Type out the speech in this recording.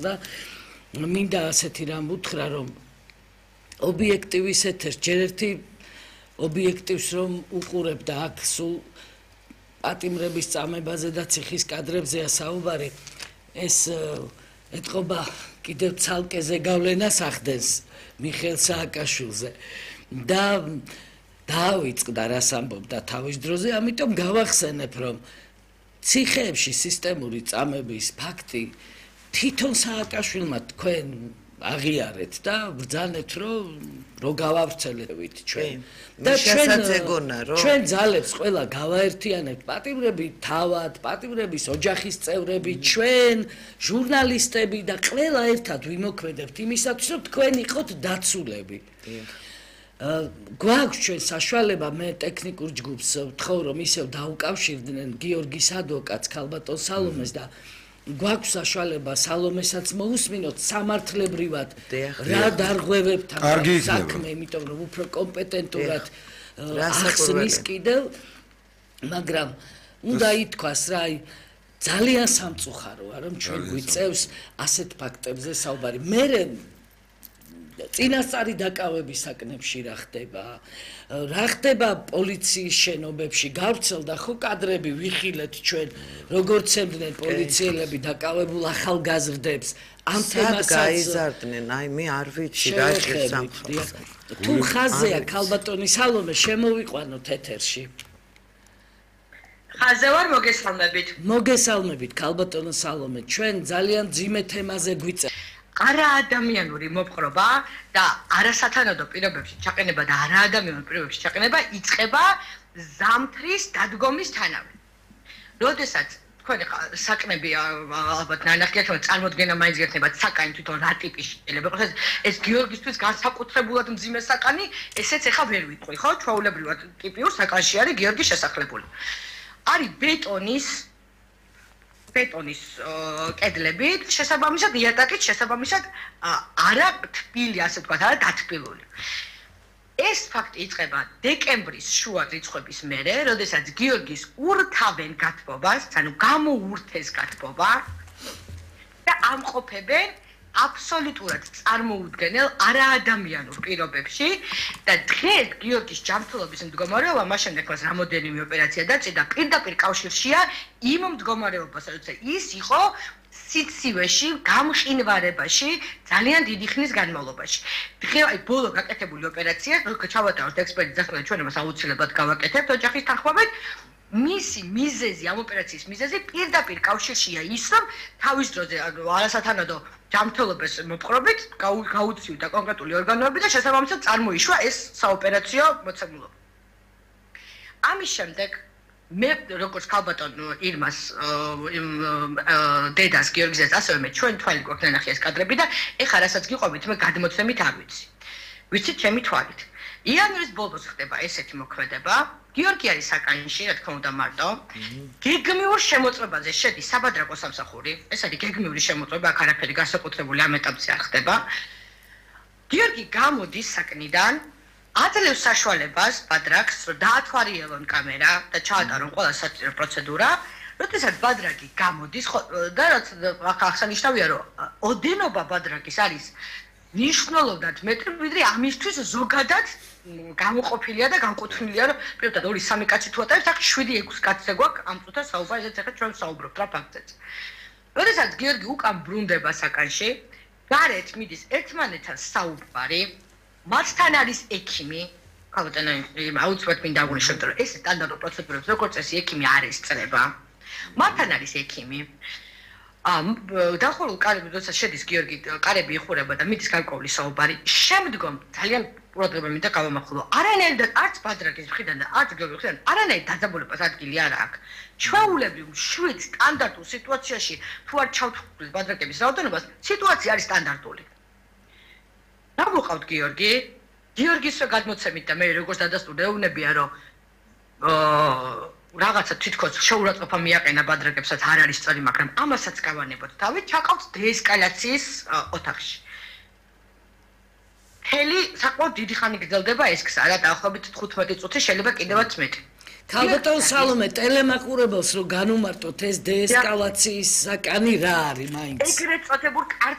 და მინდა ასეთი რამ უთხრა, რომ ობიექტივის ეთერს ჯერ ერთი ობიექტივს რომ უყურებდა აქ სულ პატიმრების წამებაზე და ციხის კადრებზეა საუბარი, ეს ეთყობა კიდევ ცალკე ზეგავლენას ახდენს მიხეილ სააკაშვილზე და დაავიწყდა რას ამბობდა თავის დროზე, ამიტომ გავახსენებ, რომ ციხეებში სისტემური წამების ფაქტი თვითონ სააკაშვილმა თქვენ აღიარეთ და ბრძანეთ, რომ გავავრცელებით ჩვენ. და ჩვენ ძალებს ყველა გავაერთიანებთ, პატიმრები თავად, პატიმრების ოჯახის წევრები, ჩვენ, ჟურნალისტები და ყველა ერთად ვიმოქმედებთ იმისათვის, რომ თქვენ იყოთ დაცულები. გვაქვს ჩვენ საშუალება, მე ტექნიკურ ჯგუფს ვთხოვ, რომ ისევ დაუკავშირდნენ გიორგის ადვოკატს, ქალბატონ სალომეს და გვაქვს საშუალება სალომესაც მოусმინოთ სამართლებრივად რა დარღვევებთან საქმე, იმიტომ რომ უფრო კომპეტენტურად ახსნის კიდევ, მაგრამ უნდა ითქვას რა, ძალიან სამწუხაროა, რომ ჩვენ გვიწევს ასეთ ფაქტებზე საუბარი. მე წინასწარი დაკავების საკნებში რა ხდება პოლიციის შენობებში, გავრცელდა ხო კადრები, ვიხილეთ ჩვენ, როგორც ემდნენ პოლიციელები დაკავებულ ახალგაზრდებს, ამ თემასაც გაიზარდნენ, მე არ ვიცი რა შესამხობს. თუ ხაზეა ქალბატონი სალომე, შემოვიყვანოთ ეთერში. ხაზე ვარ, მოგესალმებით ქალბატონო სალომე, ჩვენ ძალიან ძიმე თემაზე გვიწევთ. არაადამიანური მოპყრობა და არასათანადო პირობებში ჩაყენება და არაადამიანურ პირობებში ჩაყენება იწყება ზამთრის დადგომისთანავე. როდესაც თქვენ საკნები ალბათ ნანახი ახლა წარმოდგენა მაინც გექნებათ საკანი თვითონ რა ტიპის შეიძლება იყოს ეს გიორგისთვის განსაკუთრებულად მძიმე საკანი, ესეც ახლა ვერ ვიტყვი, ხო? ჩვეულებრივად ტიპიურ საკანში არის გიორგის შესახლებული. არის ბეტონის კედლებით, შესაბამისად იატაკით, შესაბამისად არა თბილი, ასე ვთქვათ, არა დათბილული. ეს ფაქტი იწყება დეკემბრის შუა რიცხვების მერე, როდესაც გიორგის ურთავენ გათბობას, ანუ გამოურთეს გათბობა და ამყოფებენ აბსოლუტურად წარმოუდგენელ არაადამიანურ პირობებში და დღეს გიორგის ჯანმრთელობის მდგომარეობა მას შემდეგ მას რამოდენიმე ოპერაცია დაწყდა პირდაპირ კავშირშია იმ მდგომარეობასთან, როცა ის იყო სიცივეში, გამყინვარებაში ძალიან დიდი ხნის განმავლობაში. დღეს ბოლო გაკეთებული ოპერაცია, ჩავატაროთ ექსპერტის დასკვნა, ჩვენ მას აუცილებლად გავაკეთებთ ოჯახის თანხმობით. მისი მიზეზი, ამ ოპერაციის მიზეზი პირდაპირ კავშირშია ის, რომ თავის დროზე არასათანადო ჯანმრთელობის მოპყრობით გაუწიოდა კონკრეტული ორგანოები და შესაბამისად წარმოიშვა ეს საოპერაციო მოცემულობა. ამის შემდეგ მე როგორც ქალბატონ ირმას დედას გიორგისაც ასევე მე ჩვენ თვალი გვაქვს ნანახი ეს კადრები და ეხლა რასაც გიყვებით მე გადმოცემით არ ვიცი. ვიცით ჩემი თვალით. იანვრის ბოლოს ხდება ესეთი მოქმედება. გიორგი არის საკანში, რა თქმა უნდა მარტო. გეგმიურ შემოწმებაზე შედის საბადრაკო სამსახური. ეს არის გეგმიური შემოწმება, აქ არაფერი განსაკუთრებული ამ ეტაპზე არ ხდება. გიორგი გამოდის საკნიდან, აძლევს საშუალებას ბადრაკს, რომ დაათვალიერონ კამერა და ჩაატარონ ყველა საჭირო პროცედურა. როდესაც ბადრაკი გამოდის და რაც აღსანიშნავია, რომ ოდენობა ბადრაკის არის ნიშნულოვნად მეტრი, ვიდრე ამისთვის ზოგადად გამოყოფილია და განკუთვნილია, რომ პირდაპირ 2-3 კაცი თუ ატარებს, აქ 7-6 კაცზე გვაქვს ამ წუთას საუბარი, ესეც ახლა ჩვენ საუბრობთ რა ფაქტზეც. როდესაც გიორგი უკან ბრუნდება საკანში, გარეთ მიდის ერთმანეთთან საუბარი, მათთან არის ექიმი, ქალბატონო აუცილებლად მინდა აღვნიშნოთ, რომ ეს სტანდარტულ პროცედურებს როგორც წესი ექიმი არ ესწრება. მათთან არის ექიმი. დახურულ კარები, როდესაც შედის გიორგი, კარები იხურება და მიდის გარკვეული საუბარი. შემდგომ ძალიან ყურადღება მინდა გავამახვილო. არანაირად არც ბადრაკის მხრიდან და არც გიორგის მხრიდან არანაირ დაძაბულებას ადგილი არ აქვს. ჩვეულებრივ შვიდ სტანდარტულ სიტუაციაში თუ არ ჩავთვლით ბადრაკების რაოდენობას, სიტუაცია არის სტანდარტული. რა მოყავთ გიორგი? გიორგისვე გადმოცემით და მე როგორც დადასტურდა ეუბნებია, რომ რაღაცა თითქოს შეურაცხყოფა მიაყენა ბადრაკებსაც არ არის სწორი, მაგრამ ამასაც გავანებოთ თავით, ჩაყავთ დეესკალაციის ოთახში. მთელი საკმაოდ დიდი ხანი გრძელდება ეს გზა, რა დაახლოებით 15 წუთი, შეიძლება კიდევაც მეტი. ქალბატონ სალომე, ტელემაყურებელს რო განუმარტოთ ეს დეესკალაციის საკანი რა არის მაინც? ეგრეთ წოდებულ კარგ